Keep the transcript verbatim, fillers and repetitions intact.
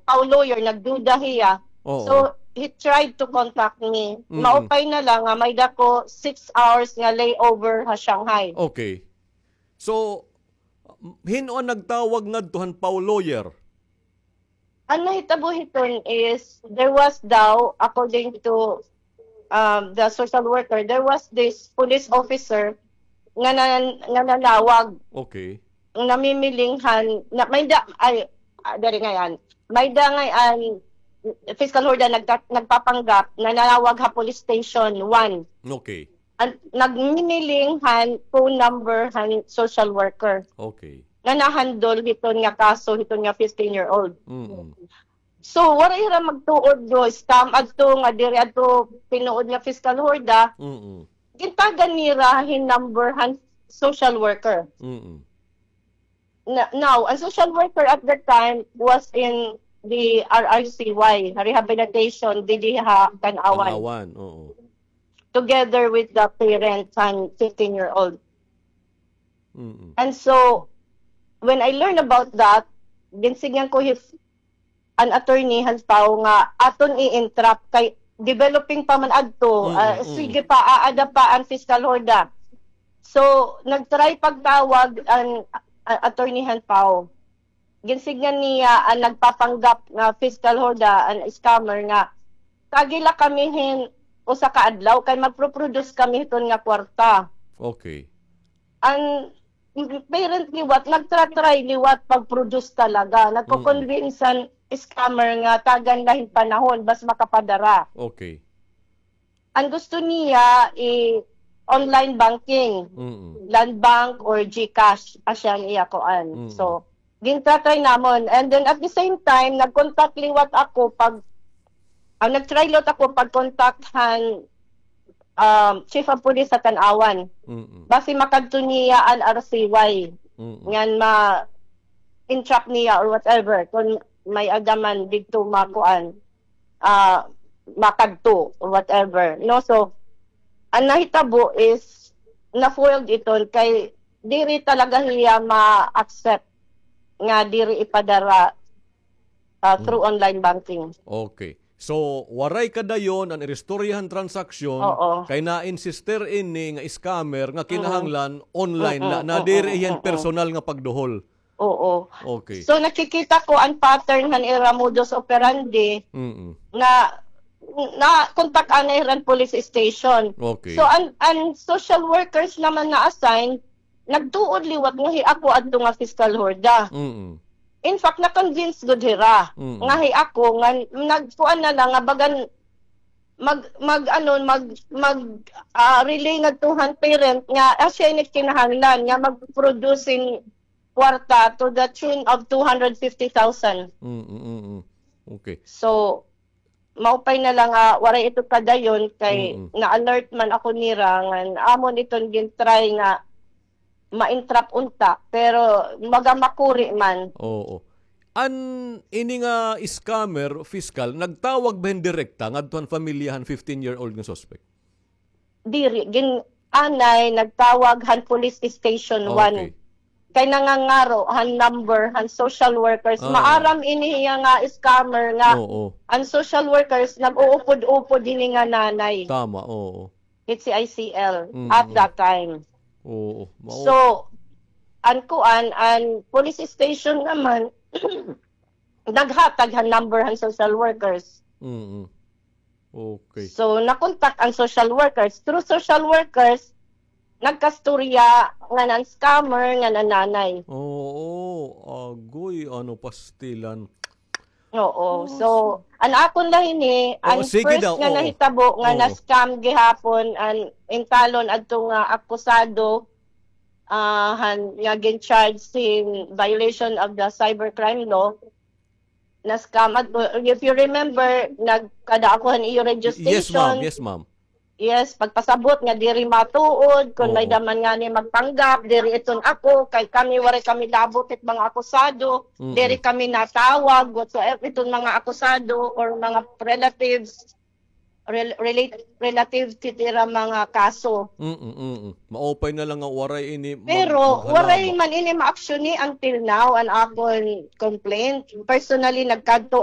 Pau lawyer, nagduda hiya. Oo. So, he tried to contact me. Mm-mm. Maupay na lang nga may-ada ko six hours nga layover ha Shanghai. Okay. So, hin-o an nagtawag ngadto han Pau lawyer? An nahitabo hiton is, there was daw, according to, um, the social worker, there was this police officer nga nan-, nga nanawag. Okay. Namimiling han, na, may-ada, ay, ah, diri ngay-an. May-ada ngay-an, Fiscal Horda nagta-, nagpapanggap, nanawag ha police station one. Okay. An, nagmimiling han phone number han social worker. Okay. Nga nahandle hiton nga kaso, hiton nga fifteen-year-old. Mm. So, waray hira magtuod nga scam adto, nga diri adto tinuod nga Fiscal Horda. Mm. Gintagan nira hin number han social worker. Mm. Na, now, an social worker at that time was in the R R C Y, rehabilitation, didi ha Tanauan. Tanauan, oo. Together with the parents han fifteen-year-old. Mm-mm. And so, when I learned about that, ginsidngan ko his, an attorney han Pau nga aton i-entrap kay developing pa man adto, mm-mm, ah, sige pa, aada pa an Fiscal Horda. So, nag-try pagtawag an, ah, attorney han Pau. Ginsidngan niya an nagpapanggap nga Fiscal Horda, an scammer nga, "Tagi la kami hin usa ka adlaw kay magpo-produce kami hiton nga kwarta." Okay. An parent liwat, nagtra-try liwat pag-produce talaga. Mm. Nagko-convince an scammer nga tagan la hin panahon, bas makapadara. Okay. An gusto niya, i-, online banking, mm-mm, Land Bank or GCash, asya an iya kuan. Mm-mm. So, gin-try namon. And then at the same time, nag-contact liwat ako pag, ah, nag-try liwat ako pag-contact han, um, chief of police sa Tanauan. Mm-mm. Basi makadto niya an R C Y. Mm-mm. Ngan ma-entrap niya or whatever. Kung may-ada man didto makuan, ah, makadto or whatever, no? So, an nahitabo is na-foiled iton kay diri talaga hiya ma-accept nga diri ipadara, ah, through, mm, online banking. Okay. So, waray kadayon an iristorya han transaksyon, oo, kay na-insister ini nga scammer nga, mm-mm, kinahanglan online na, mm-mm, na diri, mm-mm, hiya hin, mm-mm, personal nga pagduhol. Oo. Okay. So, nakikita ko an pattern han ira modus operandi, mm-mm, na, na kontak-an na hira han police station. Okay. So, an, an social workers naman na-assign, nagtuod liwat nga hi ako adto nga Fiscal Horda. Mm-mm. In fact, na-convince gud hira, mm-mm, nga hi ako, nga nagkuan na lang, nga bagan mag, mag, ano, mag, mag, ah, relay ngadto han parent nga, ah, asya ini kinahanglan nga mag-produce hin kwarta to the tune of two hundred fifty thousand. Mm, mm, mm, mm. Okay. So, maupay na lang nga waray ito kadayon kay, mm-mm, na-alert man ako nira ngan amon iton gin-try nga ma-entrap unta, pero baga makuri man. Oo. An ini nga scammer, Fiscal, nagtawag ba hin direkta ngadto han pamilya han fifteen-year-old nga suspect? Diri, gin-, anay nagtawag han police station one. Okay. Kay nangangaro han number han social workers. Ah. Maaram ini hiya nga scammer nga, oo, an social workers nag-uupod-upod hini nga nanay. Tama, oo. Hit C I C L, mm-mm, at that time. Oo, mao. So, an kuan, an police station naman, naghatag han number han social workers. Mm-mm. Okay. So, nakontak an social workers. Through social workers, nagkastorya ngan an scammer ngan an nanay. Oo, agoy, ano, pastilan. Oo. Oh, so, an akon la hini, oh, an sige first daw, nga, oo, nahitabo nga, oo, na-scam gihapon an intalon adto nga akusado, ah, han, nga gin-charge hin violation of the cybercrime law. Na-scam adto. If you remember, nagkada ako han iyo radio station. Yes, ma'am. Yes, ma'am. Yes, pagpasabot nga diri matuod, kon may-ada man ngani magpanggap, diri iton ako, kay kami, waray kami labot hit mga akusado, mm-mm, diri kami natawag, whatsoever, iton mga akusado or mga relatives, rel-, relate-, relative hit ira mga kaso. Mm, mm, mm. Maupay na lang nga waray ini mag-, pero waray man ini ma-action-i until now, an akon complaint. Personally, nagkadto